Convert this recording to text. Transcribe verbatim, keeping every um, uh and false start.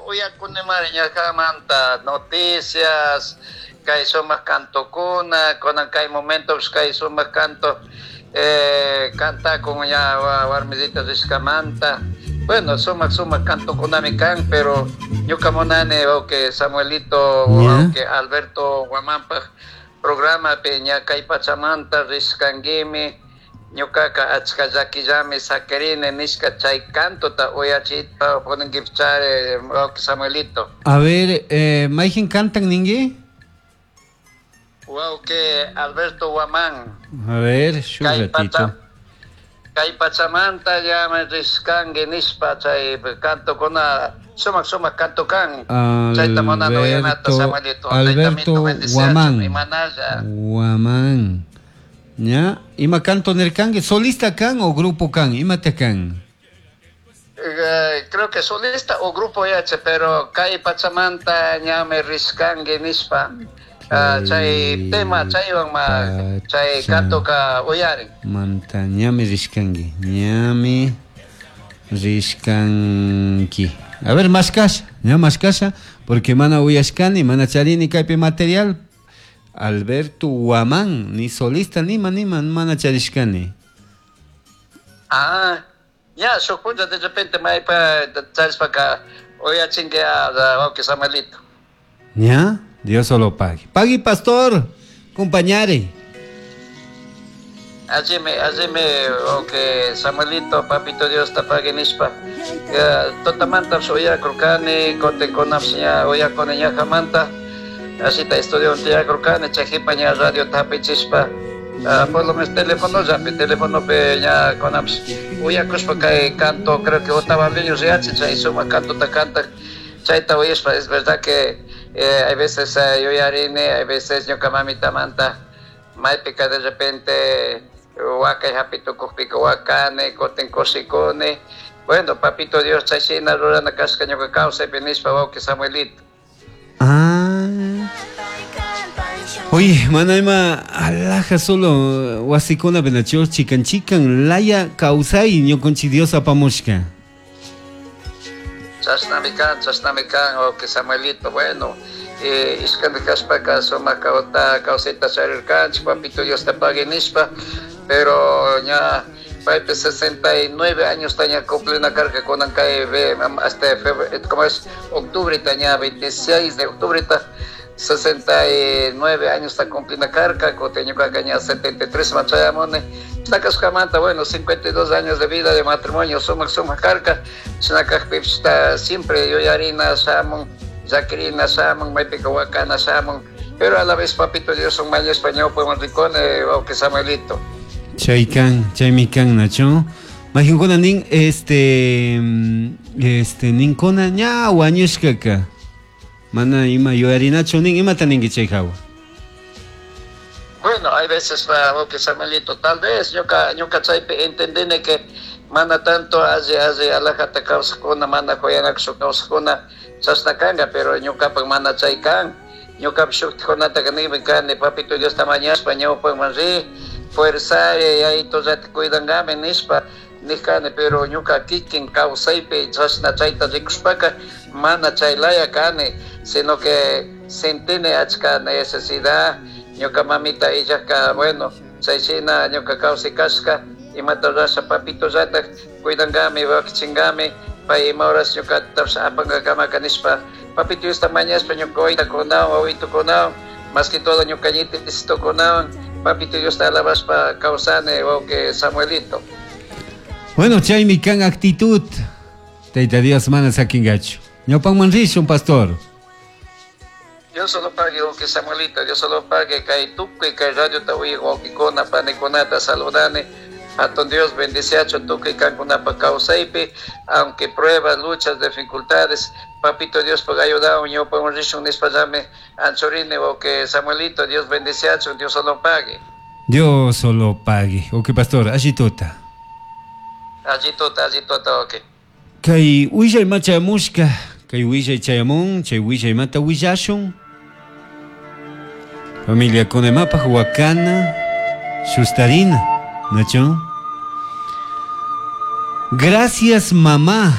Uyakunimari ñakamanta noticias, kay sumaq kantokuna, kunan kay momentos kay sumaq canto eh, cantakun ña warmisita rishkamanta. Bueno, sumaq sumaq kantokunami kan, pero ñuka munani wawqi Samuelito, wawqi Alberto Guamanpaj programapi ña kay pachamanta rishkankimi, ñukaka achka llakillami sakirini nishka chay cantota uyachita poninkichari wawqi Samuelito. A ver, eh, mayqin cantan ninki? Wawqi Alberto Guamán. A ver, shuk ratito. Kay pachamanta llama rishkanki nishpa chay kantokuna sumaq sumaq kanto kan. Chayta munani uyanata Samuelito. Alberto Guamán. Guamán. ¿Ya? Ima canto nirkanki? ¿Solista kan o grupo kan? Imata kan? Eh, creo que solista o grupo yache, pero kay pachamanta ñame rishkanki nishpa. Uh, chay tema chaywan ma chay kantoka uyarin. Manta ñami rishkanki, ñami rishkanki. A ver, mashkasha, ña mashkasha, porque mana uyashkani, mana charini kaypi material. Alberto Guamán, ni solista ni ma ni man, mana charishkani. Ah, ya, shuk punlla de repente maypa charishpaka uyachinki a wawqi Samuelito. ¿Ya? Dios solo pague. Pague, pastor, compañare. Allí me, allí me, okay, Samuelito, papito Dios te pague nishpa. Totamanta oyakurkani, kote konapsiña oyakuni ñajamanta. Así ta estudio tiyakurkani, chajipa ña radio tapichispa. Por lo menos teléfono ya, teléfono pe ña konaps. Oyakuspa kay canto, creo que otavaleño se chay suma canto ta canta. Chayta oyaspa, es verdad que Eh, hay veces eh, yuyarini, hay veces ñuka mamita manta maypika de repente wakay hapitukukpika wakani, kutin kushikuni. Bueno, papito Dios chayshina rurana kashka ñuka kawsaypi nishpa wawqi Samuelito. Ah. Oye, mana ima alaja solo wasikuna benacho chikan chikan laya kawsay ñukanchik Dios apamushka. Chashnami kan, chashnami kan, wawqi Samuelito, bueno, eh, ishkandi kashpaka sumaq kawta kawsayta charirkanchik, papito Dios te pague nishpa, pero ña paypi sesenta y nueve años taña cumplina karka kunan kay hasta febrero, ¿cómo es? Octubre taña veintiséis de octubre ta sesenta y nueve años está cumplina karka, kutin ñuka ña setenta y tres machayamuni. Sacaskamanta, bueno, cincuenta y dos años de vida de matrimonio, sumaq sumaq karka, chinakaqpipis siempre yuyarina shamun, llakirina shamun, maypika wakana shamun, pero a la vez papito Dios un mañaspa ñawpaman rikuni, wawqi Samuelito. Chaykan, chaymikan, nacho. Mayqinkuna nin, este, este, ninkuna ña wañushkaka. Mana ima yuyarinachu nin, imata ninki chay hawa? Bueno, hay veces, wawqi Samuelito, tal vez ñuka ñuka chaypi entendini que mana tanto alli alli alajata kawsakuna, mana kuyanakushpa kawsakuna chashna kanka, pero ñukapak mana chay kan. Ñukapak shuktikunataka niymi kani, papito Diosta mañashpa ñawpakman ri, fuerzari, yayitollata cuidankami nishpa nijkani, pero ñuka kikin kawsaypi chashna chayta rikushpaka mana chay laya kani, sino que sentini achka necesidad. Ñuka mamita illajka, bueno, chayshina ñuka kawsay kashka, imata rurasha papito llatak cuidankami, wakichinkami, pay ima horas ñukatapish apankakamaka nishpa, papito Diosta mañashpa ñuka waytakunawan, wawitukunawan, más que todo ñuka ñitisitukunawan, papito Diosta alabashpa kawsani, wawqi Samuelito. Bueno, chaymi kan actitud. Tayta Dios mana sakinkachu. Ñawpanman rishun, pastor. Dios solo pague, wawqi Samuelito, Dios solo pague, kay tukuy kay radiota uyaq wawqikuna, panikunata saludani. Hatun Dios bendiciacho tukuy kankunapa kawsaypi, aunque pruebas, luchas, dificultades, papito Dios pag ayudawan ñawpaman rishun nishpallami anchorini, wawqi Samuelito, Dios bendiciacho, Dios solo pague. Dios solo pague. Ok, pastor, allituta. Allituta, allituta, ok. Kay willay machayamushka, kay willay chayamun, chay willay mata willashun. Familia kunemapaj wakana, shustarina, nacho. Gracias mamá.